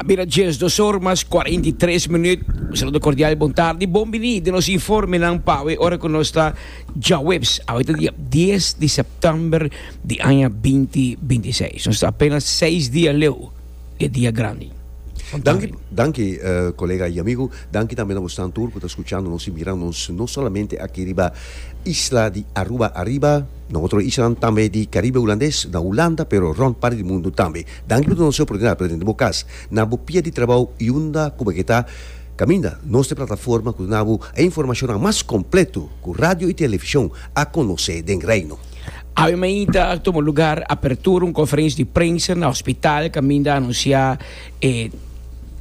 A bira 12 or mas 43 minuut. Un saludo cordial, bon tardi, bon bini den nos informenan pa awe ora cu nos ta djaweps. Awe ta dia 10 di september di aña 2026. Nos ta apenas 6 dia leu di e dia grandi. Bon Danki, tardi. danki colega y amigo. Danki tambe na bosnan tur cu ta scuchando nos y mirando nos no solamente aki riba isla di Aruba ariba, na otro islanan tambe di Caribe Hulandes, na Hulanda, pero rond parti di mundo tambe. Danki pa duna nos e oportunidad pa tende bo cas, na bo pia di trabou y unda cu bo ke ta. Caminda, nos ta e plataforma cu duna bo e informacionnan mas completo cu radio y television a conoce den Reino. Awe mainta a tuma lugar apertura un conferencia di prensa na hospital caminda a anuncia e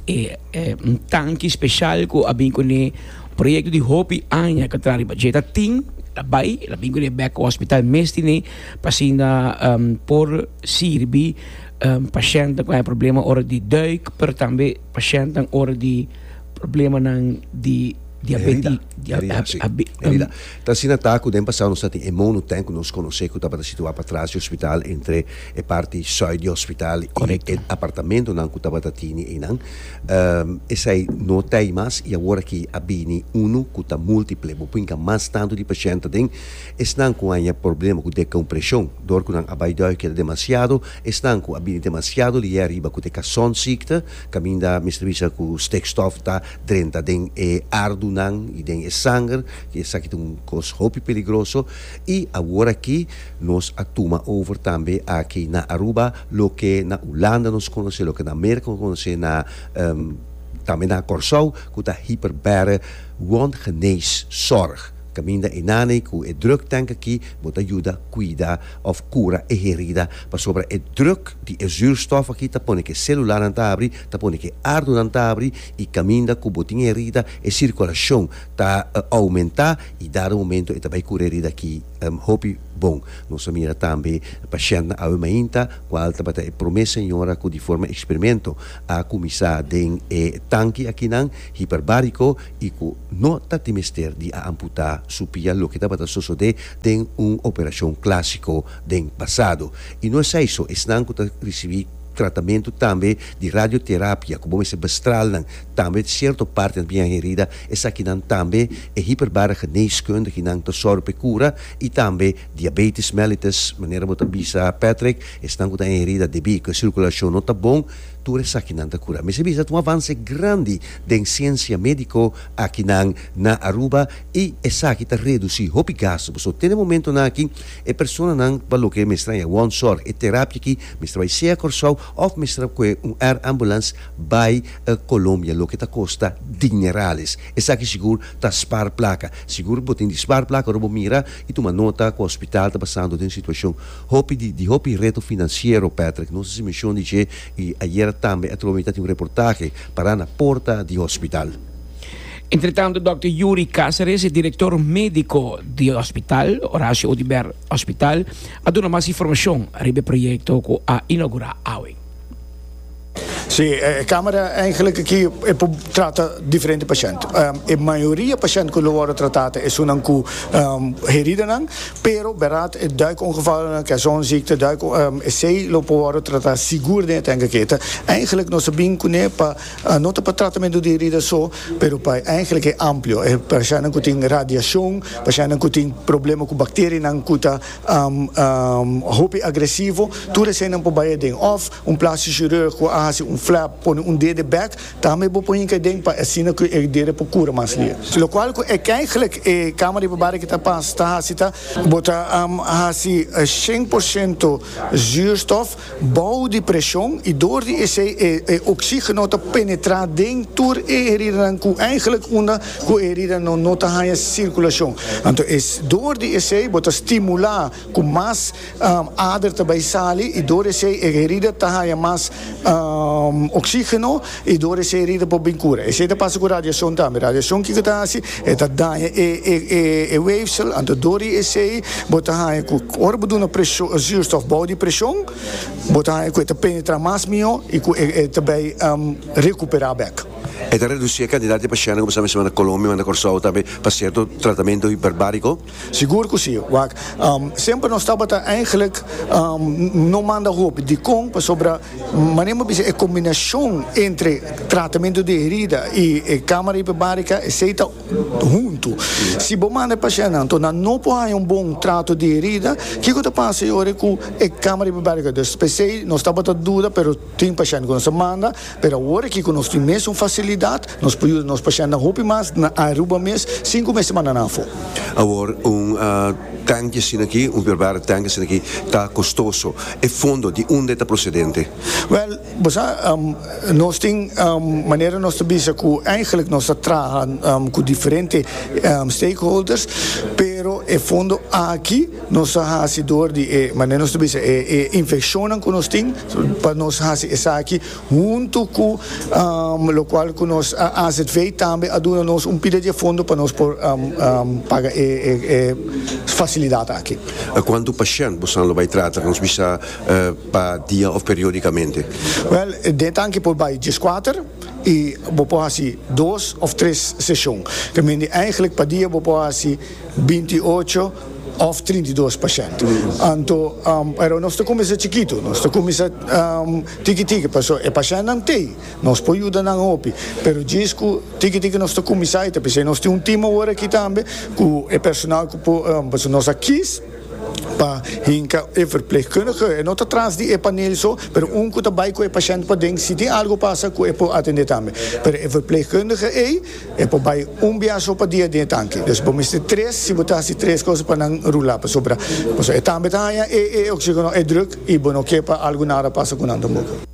e un tanki special cu a bin cune proyecto di hopi aña cu a traha riba dje. Ta tin, el a bay, el a bin cune bek cu hospital mes tine pa asina por sirbi pashèntnan ku haña problema ora di duik, pero tambe pashèntnan ora di problemanan di diabeti. Herida, sí, herida. Ta asina ta ku den pasado nos ta tin e monotank ku nos konosé ku tabata situá patras di hospital entre e parti sùit di hospital i e apartamentonan ku tabata tini einan. Esei no ta ei mas i awor aki a bini unu ku ta múltiple. Bo por hinka mas tantu di pashènt aden. Esnan ku haña problema ku dekompreshon dor ku nan a bai duik keda demasiado, esnan ku a bini demasiado lié ariba ku ta e kasonziekte, kaminda mester bisa ku stikstof ta drenta den e ardunan i den e sanger, esaki ta un kos hopi peligroso. I awor aki nos a tuma over tambe aki na Aruba loke na Hulanda nos konosé, loke na Merka nos konosé, na tambe na Kòrsou ku ta hiperbare wondgeneeszorg. Kaminda e nane ku e druk tank aki bo ta yuda kuida òf kura e herida pasobra e druk di e zuurstof aki ta pone ku e selulanan ta habri, ta pone ku e ardunan ta habri i kaminda ku bo tin e herida e sirkulashon ta oumentá i dado momento e ta bai kura e herida aki hopi bon. Nos a mira tambe pashèntnan awe mainta kual tabata e promé señora ku di forma eksperimento a kuminsá den e tanki akinan hiperbariko i ku no ta tin mester di a amputá su pia loke tabata sosodé den un operashon klásiko den pasado. I no esei so, esnan ku ta risibí tratamentu tambe di radioterapia ku bo mester bestral nan tambe sierto partinan bian herida, esakinan tambe e hiperbare geneeskundiginan ta sòru pa e kura i tambe diabetes mellitus, manera bo ta bisa Patrick, esnan ku ta herida debí ku e sirkulashon no ta bon. Tur esakinan ta cura. Mester bisa ta un avance grandi den ciencia medico akinan na Aruba y esaki ta reduci hopi gasto. Pasobra te na e momentonan aki e personanan pa loke mester haña wondzorg, e terapia aki mester bay sea Corsou of mester a coge un air ambulance bay Colombia loke ta costa dinerales. Esaki sigur ta spaar placa. Sigur bo tin di spaar placa ora bo mira y tuma nota cu hospital ta pasando den un situacion Hopi di di hopi reto financiero, Patrick. Nos a hasi mencion di dje y ayera tambe atrobe mi ta tin un reportahe para na porta di hospital. Entretanto Dòkter Yuri Cáceres, e director medico di hospital, Horacio Oduber Hospital, a duna mas informacion riba e proyecto cu a inaugura awe. Sí, e camera eigenlijk aki e por trata diferente pashent. E mayoria pashent ku lo wòrdu tratá ta esunnan ku heridanan, pero bèrdat e duikongevalnan, caissonziekte, duik, esei lo por wòrdu tratá sigur den e tank aki. Ta eigenlijk nos a bin kuné pa no ta pa tratamentu di herida so, pero pa eigenlijk e amplio, e pashentnan ku tin radiashon, pashentnan ku tin problema ku bakterianan ku ta hopi agresivo, tur eseinan por bai aden. Òf un plástico chirurg ku a hasi un flap, pone un dede bèk, tambe bo por hinka aden pa asina ku e dede por kura mas lihe. Lokual ku e kèigelijk e kama riba bari ki ta pas ta hasi ta, bo ta hasi 100% zuurstof bou di preshon i dor di esei e oxígeno ta penetrá den tur e heridanan ku eigelijk unda ku e heridanan no ta haña sirkulashon. Anto e dor di esei bo ta stimulá ku mas ader ta bai sali i dor esei e herida ta haña mas oxígeno i dor esei e herida por bin kura. Esei ta pasa ku radiashon tambe. Radiashon kiko ta hasi? E ta daña e weefsel, anto dor di esei bo ta haña ku ora bo duna preshon, zuurstof bou di preshon, bo ta haña ku e ta penetra mas mihó i ku e ta bai rekuperá bèk. E ta reduci e cantidad di pashentnan cu bo sa mester manda Colombia, manda Corsou tambe pa cierto tratamento hiperbarico? Sigur cu si. Wak, semper nos tabata eigenlijk no manda hopi. Dicon? Pasobra manera bo bisa e combinacion entre tratamento di herida y e camara hiperbarica esey ta huntu. Si bo manda e pashentnan anto nan no por haña un bon trato di herida, kiko ta pasa e ora ku e kamera hiperbárika? Dus p'esei nos tabata duda, pero tin pashent ku nos a manda, pero awor aki ku nos tin mesun fasilidat, nos por yuda nos pashentnan hopi mas na Aruba mes sin ku mester manda nan afó. Awor un tanki asina aki, un hiperbárik tanki asina aki ta kostoso. E fondo di unda e ta prosedente? Wèl, Bo sa, nos tin manera nos ta bisa ku eigenlijk nos ta traha ku diferente stakeholders, pero e fondo aki nos ta hasi dor di e manera nos ta bisa e infekshonnan ku nos tin pa nos hasi esaki huntu ku lokual ku nos AZV tambe a duna nos un pida di e fondo pa nos por paga e fasilidat aki. Kuantu pashènt boso lo bai trata? Nos bisa Pa dia of periodicamente? Wel, den tanki por bai dieskuater y bo por haci dos of tres sesion. Te mende eigenlijk pa dia bo por haci 28 of 32 pashent. Anto, pero nos ta cuminsa chikito, nos ta cuminsa tiki tiki, pasobra e pashentnan t'ey, nos por yuda nan hopi, pero djis cu tiki tiki nos ta cuminsa y ta p'esey nos tin un team awor aki tambe cu e personal cu por, pasobra nos a kies. Pa hinka e verpleegkundige, e no ta tras di e panel so, pero un ku ta bai ku e pashènt paden, si tin algu pasa ku e por atendé tambe. Pero e verpleegkundige ei, e por bai un bia so pa dia den e tanki. Dus bo mester tres, si bo ta hasi tres kos pa nan rula, pasobra pasobra e tambe ta haña e e oxigeno, e druk, i bo no ke pa algu nada pasa ku nan tampoco.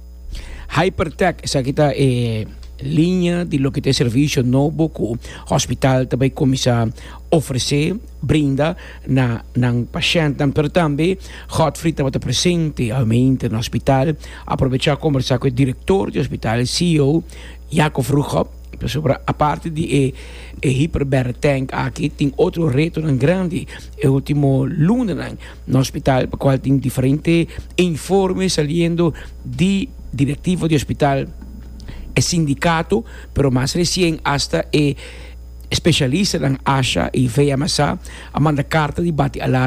Hypertech, esaki ta e liña di loke ta e servisio nobo ku hospital ta bai kuminsá ofresé, brinda na nan pashèntnan. Pero tambe Godfrey tabata presente awemente na hospital, a aprovechá kombersá ku e direktor di hospital, e CEO, Jaco Vroegop, pasobra aparte di e e hyperbare tank aki tin otro retonan grandi e ultimo lunanan na hospital pa kual tin diferente informe saliendo di direktivo di hospital, e sindikato, pero mas resien asta e Specialistanan ASHA y VMSA a manda carta di bati alarma.